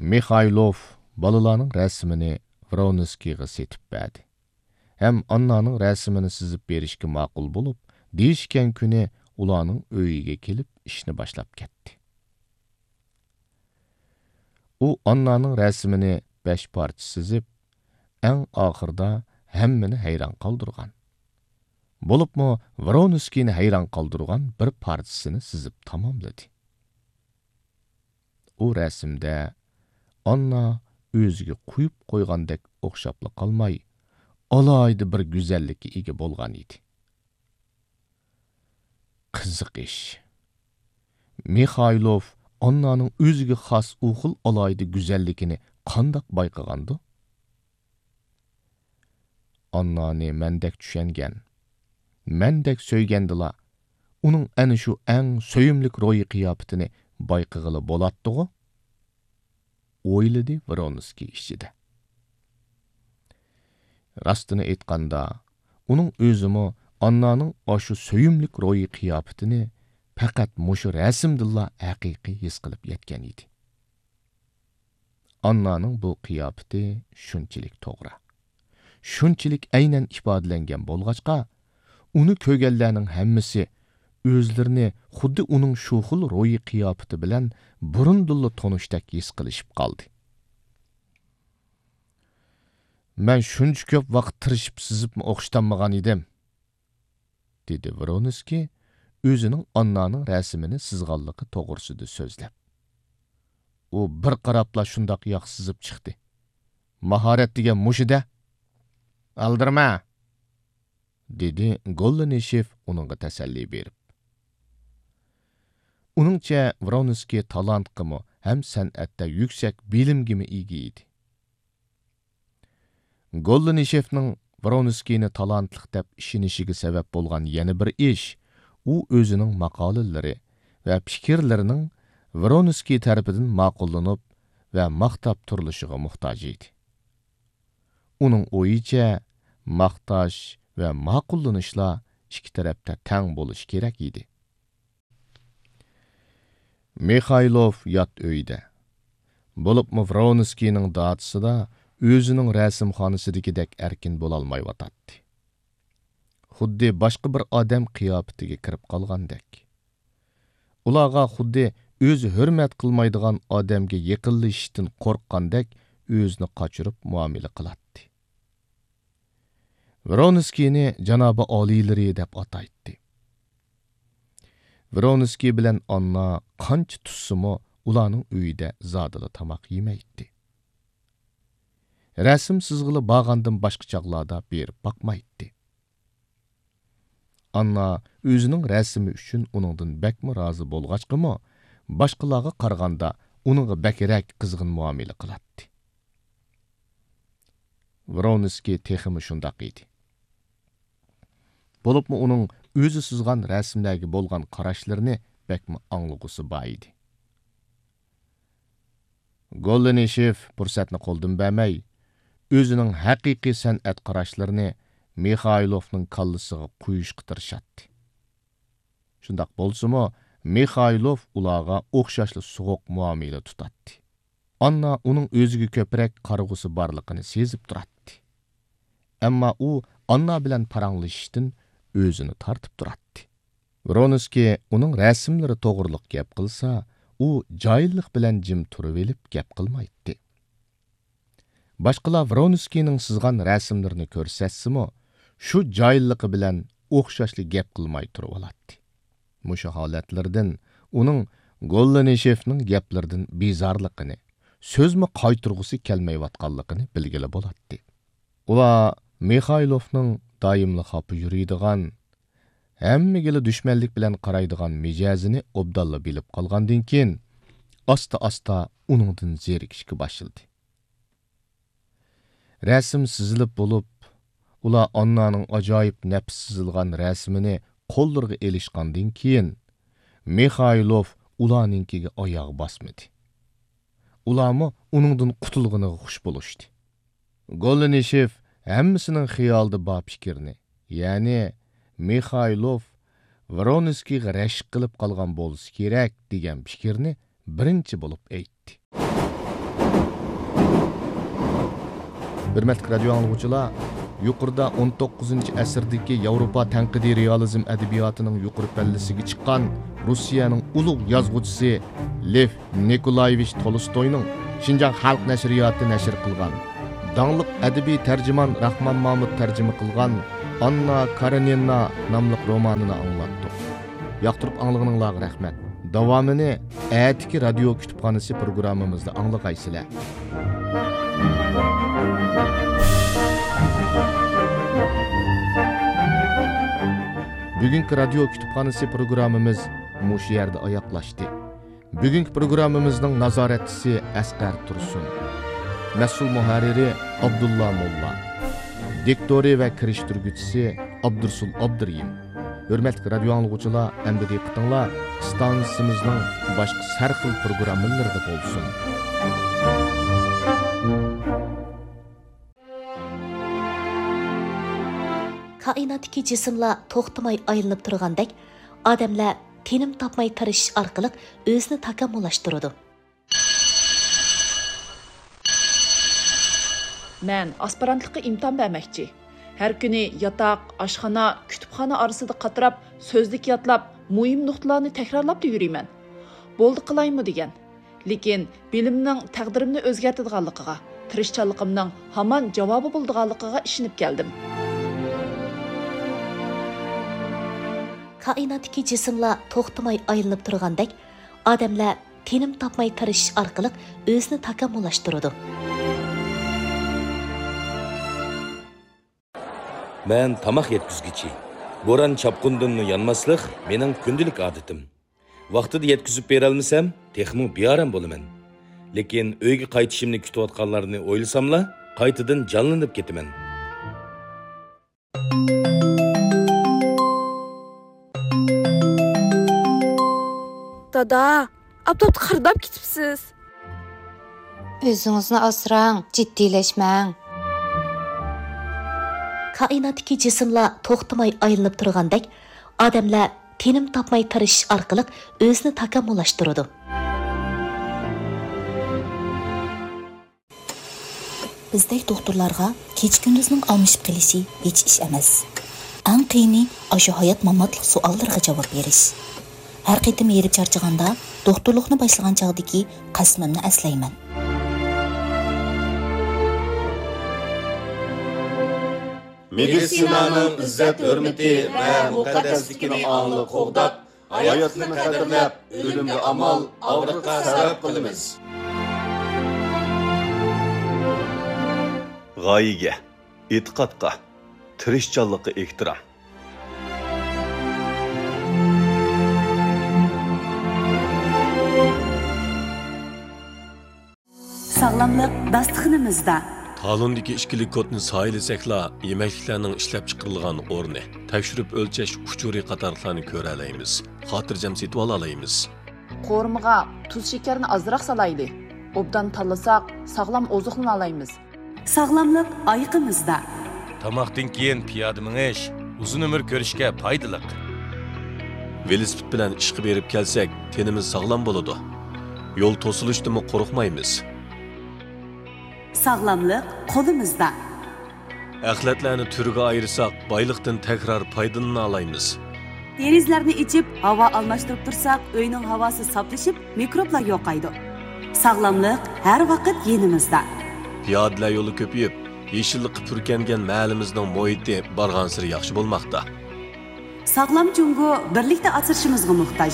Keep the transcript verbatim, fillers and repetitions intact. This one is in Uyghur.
مىخايلوف بالىلارنىڭ رەسىمىنى ۋرونسكىيغا سېتىپ بەردى ھەم ئاننانىڭ رەسىمىنى سىزىپ بېرىشكە ماقۇل بولۇپ، دېيىشكەن كۈنى ئۇلارنىڭ ئۆيىگە كېلىپ ئىشنى باشلاپ كەتتى. ئۇ ئاننانىڭ رەسىمىنى بەش پارچە سىزىپ، ئەڭ ئاخىرىدا ھەممىنى ھەيران قالدۇرغان. بولۇپمۇ ۋرونسكىينى ھەيران قالدۇرغان بىر پارچىسىنى سىزىپ تاماملىدى. ئۇ رەسىمدە ئاننا ئۆزىگە قويۇپ قويغاندەك ئوخشاپلا قالماي، ئالاھىدە بىر گۈزەللىككە ئىگە بولغان ئىدى. قىزىق ئىش. مىخايلوف ئاننانىڭ ئۆزىگە خاس ئۇ خىل ئالاھىدە گۈزەللىكىنى قانداق بايقىغاندۇ؟ ئاننانى مەندەك چۈشەنگەن، مەندەك سۆيگەندىلا، ئۇنىڭ ئەنە شۇ ئەڭ سۆيۈملۈك روھىي قىياپىتىنى بايقىغىلى بولاتتىغۇ؟ ئويلىدى ۋرونسكىي ئىچىدە. راستىنى ئېيتقاندا، ئۇنىڭ ئۆزىمۇ ئاننانىڭ ئاشۇ سۆيۈملۈك روھىي قىياپىتىنى پەقەت مۇشۇ رەسىمدىنلا ھەقىقىي ھېس قىلىپ يەتكەن ئىدى. ئاننانىڭ بۇ قىياپىتى شۇنچىلىك توغرا، شۇنچىلىك ئەينەن ئىپادىلەنگەن بولغاچقا، ئۇنى كۆرگەنلەرنىڭ ھەممىسى ئۆزلىرىنى خۇددى ئۇنىڭ شۇ خىل روھىي قىياپىتى بىلەن بۇرۇندىنلا تونۇشتەك ھېس قىلىشىپ قالدى. «مەن شۇنچە كۆپ ۋاقىت تىرىشىپ سىزىپمۇ ئوخشىتالمىغان ئىدىم»، دېدى ۋرونسكىي ئۆزىنىڭ ئاننانىڭ رەسىمىنى سىزغانلىقى توغرىسىدا سۆزلەپ. «ئۇ بىر قاراپلا شۇنداق ياخشى سىزىپ چىقتى. ماھارەت دېگەن مۇشۇ-دە. ئالدىرىما!» دېدى گوللىنىشېف ئۇنىڭغا تەسەللى بېرىپ. ئۇنىڭچە، ۋرونسكىي تالانتقىمۇ ھەم سەنئەتتە يۈكسەك بىلىمگىمۇ ئىگە ئىدى. گوللىنىشېفنىڭ ۋرونسكىينى تالانتلىق دەپ ئىشىنىشىگە سەۋەب بولغان يەنە بىر ئىش، ئۇ ئۆزىنىڭ ماقالىلىرى ۋە پىكىرلىرىنىڭ ۋرونسكىي تەرىپىدىن ماقۇللىنىپ ۋە ماختاپ تۇرۇلۇشىغا موھتاج ئىدى. ئۇنىڭ ئويىچە، ماختاش ۋە ماقۇللىنىشلار ئىككى تەرەپتە تەڭ بولۇشى كېرەك ئىدى. مىخايلوف يات ئۆيدە، بولۇپمۇ ۋرونسكىينىڭ داچىسىدا ئۆزىنىڭ رەسىمخانىسىدىكىدەك ئەركىن بولالمايۋاتاتتى. خۇددى باشقا بىر ئادەم قىياپىتىگە كىرىپ قالغاندەك. ئۇلارغا خۇددى ئۆزى ھۆرمەت قىلمايدىغان ئادەمگە يېقىنلىشىشتىن قورققاندەك ئۆزىنى قاچۇرۇپ مۇئامىلە قىلاتتى. ۋرونسكىينى جانابىي ئالىيلىرى دەپ ئاتايتتى. ۋرونسكىي بىلەن ئاننا قانچە تۇتسىمۇ، ئۇلارنىڭ ئۆيىدە زادىلا تاماق يېمەيتتى. رەسىم سىزغىلى بارغاندىن باشقا چاغلاردا بېرىپ باقمايتتى. ئاننا ئۆزىنىڭ رەسىمى ئۈچۈن ئۇنىڭدىن بەكمۇ رازى بولغاچقىمۇ، باشقىلارغا قارىغاندا ئۇنىڭغا بەكرەك قىزغىن مۇئامىلە قىلاتتى. ۋرونسكىي تېخىمۇ شۇنداق ئىدى. بولۇپمۇ ئۇنىڭ ئۆزى سىزغان رەسىملەرگە بولغان قاراشلىرىنى بەكمۇ ئاڭلىغۇسى بار ئىدى. گوللىنىشېف پۇرسەتنى قولدىن بەرمەي، ئۆزىنىڭ ھەقىقىي سەنئەت قاراشلىرىنى مىخايلوفنىڭ كاللىسىغا قويۇشقا تىرىشاتتى. شۇنداق بولسىمۇ، مىخايلوف ئۇلارغا ئوخشاشلا سوغۇق مۇئامىلە تۇتاتتى. ئاننا ئۇنىڭ ئۆزىگە كۆپرەك قارىغۇسى بارلىقىنى سېزىپ تۇراتتى. ئەمما ئۇ ئاننا بىلەن پاراڭلىشىشتىن ئۆزىنى تارتىپ تۇراتتى. ۋرونسكىي ئۇنىڭ رەسىملىرى توغرىلىق گەپ قىلسا، ئۇ جاھىللىق بىلەن جىم تۇرۇۋېلىپ گەپ قىلمايتتى. باشقىلار ۋرونسكىينىڭ سىزغان رەسىملىرىنى كۆرسەتسىمۇ، شۇ جاھىللىقى بىلەن ئوخشاشلا گەپ قىلماي تۇرۇۋالاتتى. مۇشۇ ھالەتلىرىدىن ئۇنىڭ گوللىنىشېفنىڭ گەپلىرىدىن بىزارلىقىنى، سۆزمۇ قايتۇرغۇسى كەلمەيۋاتقانلىقىنى بىلگىلى بولاتتى. ئۇلار مىخايلوفنىڭ دائىملا خاپا يۈرىدىغان، ھەممىگىلا دۈشمەنلىك بىلەن قارايدىغان مىجەزىنى ئوبدانلا بىلىپ قالغاندىن كېيىن، ئاستا-ئاستا ئۇنىڭدىن زېرىكىشكە باشلىدى. رەسىم سىزىلىپ بولۇپ، ئۇلار ئاننانىڭ ئاجايىپ نەپىس سىزىلغان رەسىمىنى قوللىرىغا ئېلىشقاندىن كېيىن، مىخايلوف ئۇلارنىڭكىگە ئاياغ باسمىدى. ئۇلارمۇ ئۇنىڭدىن قۇتۇلغىنىغا خۇش بولۇشتى. گوللىنىشېف ھەممىسىنىڭ خىيالىدا بار پىكىرنى، يەنى مىخايلوف ۋرونسكىيغا رەشك قىلىپ قالغان بولسا كېرەك دېگەن پىكىرنى بىرىنچى بولۇپ ئېيتتى. ھۆرمەتلىك رادىيو ئاڭلىغۇچىلار، يۇقىرىدا ئون توققۇزىنچى ئەسىردىكى ياۋروپا تەنقىدىي رېئالىزم ئەدەبىياتىنىڭ يۇقىرى پەللىسىگە چىققان روسىيەنىڭ ئۇلۇغ يازغۇچىسى لېف نىكولايېۋىچ تولستوينىڭ شىنجاڭ خەلق نەشرىياتى نەشر قىلغان، داڭلىق ئەدەبىي تەرجىمان راخمان مامۇت تەرجىمە قىلغان ئاننا كارېنىنا ناملىق رومانىنى ئاڭلاتتۇق. ياقتۇرۇپ ئاڭلىغىنىڭلارغا رەھمەت. داۋامىنى ئەتىكى رادىيو كۇتۇپخانىسى پروگراممىمىزدا ئاڭلىغايسىلەر. بۈگۈنكى رادىيو كۇتۇپخانىسى پروگراممىمىز مۇشۇ يەردە ئاياغلاشتى. بۈگۈنكى پروگراممىمىزنىڭ نازارەتچىسى ئەسقەر تۇرسۇن. مەسئۇل مۇھەررىرى ئابدۇللا موللا. دىكتورى ۋە كىرىشتۈرگۈچىسى ئابدۇرسۇل ئابدۇرېھىم. ھۆرمەتلىك رادىيو ئاڭلىغۇچىلار، ئەمدى دىققىتىڭلار ئىستانسىمىزنىڭ باشقا ھەر خىل پروگراممىلىرىدا بولسۇن. كائىناتتىكى جىسىملار توختىماي ئايلىنىپ تۇرغاندەك، ئادەملەر تىنىم تاپماي تىرىشىش ئارقىلىق ئۆزىنى تاكامۇللاشتۇرىدۇ. مەن ئاسپىرانتلىققا ئىمتىھان بەرمەكچى. ھەر كۈنى ياتاق، ئاشخانا، كۇتۇپخانا ئارىسىدا قاتراپ، سۆزلۈك يادلاپ، مۇھىم نۇقتىلارنى تەكرارلاپلا يۈرىمەن. بولدى قىلايمۇ دېگەن. لېكىن بىلىمنىڭ تەقدىرىمنى ئۆزگەرتىدىغانلىقىغا، تىرىشچانلىقىمنىڭ ھامان جاۋابى بولىدىغانلىقىغا ئىشىنىپ كەلدىم. كائىناتتىكى جىسىملار توختىماي ئايلىنىپ تۇرغاندەك، ئادەملەر تىنىم تاپماي تىرىشىش ئارقىلىق ئۆزىنى تاكامۇللاشتۇرىدۇ. مەن تاماق يەتكۈزگۈچى. بوران-چاپقۇندىنمۇ يانماسلىق مېنىڭ كۈندىلىك ئادىتىم. ۋاقتىدا يەتكۈزۈپ بېرەلمىسەم، تېخىمۇ بىئارام بولىمەن. لېكىن ئۆيگە قايتىشىمنى كۈتۈۋاتقانلارنى ئويلىساملا، قايتىدىن جانلىنىپ كېتىمەن. دادا، ئاپتاپتا قىرداپ كېتىپسىز. ئۆزىڭىزنى ئاسراڭ، جىددىيلەشمەڭ. كائىناتتىكى جىسىملار توختىماي ئايلىنىپ تۇرغاندەك، ئادەملەر تىنىم تاپماي تىرىشىش ئارقىلىق ئۆزىنى تاكامۇللاشتۇرىدۇ. بىزدەك دوختۇرلارغا كېچە-كۈندۈزنىڭ ئالمىشىپ قېلىشى ھېچ ئىش ئەمەس. ئەڭ قىيىنى ئاشۇ ھايات-ماماتلىق سوئاللىرىغا جاۋاب بېرىش. ھەر قېتىم ھېرىپ چارچىغاندا، دوختۇرلۇقنى باشلىغان چاغدىكى قەسىمىمنى ئەسلەيمەن. مېدىتسىنانىڭ ئىززەت-ھۆرمىتى ۋە مۇقەددەسلىكىنى ئاڭلىق قوغداپ، ھاياتلىقنى قەدىرلەپ، ئۆلۈمگە ئامال، ئاغرىققا سەۋەب قىلىمىز. غايىگە، ئېتىقادقا، تىرىشچانلىققا ئېھتىرام. ساغلاملىق داستىخىنىمىزدا. تالوندىكى ئىككىلىك كودنى سايىلىسەكلا، يېمەكلىكلەرنىڭ ئىشلەپچىقىرىلغان ئورنى، تەكشۈرۈپ ئۆلچەش ئۇچۇرى قاتارلىقلارنى كۆرەلەيمىز، خاتىرجەم سېتىۋالالايمىز. قورۇمىغا تۇز-شېكەرنى ئازراق سالايلى. ئوبدان تاللىساق، ساغلام ئوزۇقلىنالايمىز. ساغلاملىق ئايىقىمىزدا. تاماقتىن كېيىن پىيادە مېڭىش ئۇزۇن ئۆمۈر كۆرۈشكە پايدىلىق. ۋېلىسىپىت بىلەن ئىشقا بېرىپ كەلسەك، تېنىمىز ساغلام بولىدۇ. يول توسۇلۇشتىنمۇ قورقمايمىز. ساغلاملىق قولىمىزدا. ئەخلەتلەرنى تۈرگە ئايرىساق، بايلىقتىن تەكرار پايدىلىنالايمىز. دېرىزىلەرنى ئېچىپ، ھاۋا ئالماشتۇرۇپ تۇرساق، ئۆينىڭ ھاۋاسى ساپلىشىپ، مىكروبلار يوقايدۇ. ساغلاملىق ھەر ۋاقىت يېنىمىزدا. پىيادىلەر يولى كۆپىيىپ، يېشىللىققا پۈركەنگەن مەھەللىمىزنىڭ مۇھىتى بارغانسېرى ياخشى بولماقتا. ساغلام جۇڭگو بىرلىكتە ئاسرىشىمىزغا موھتاج.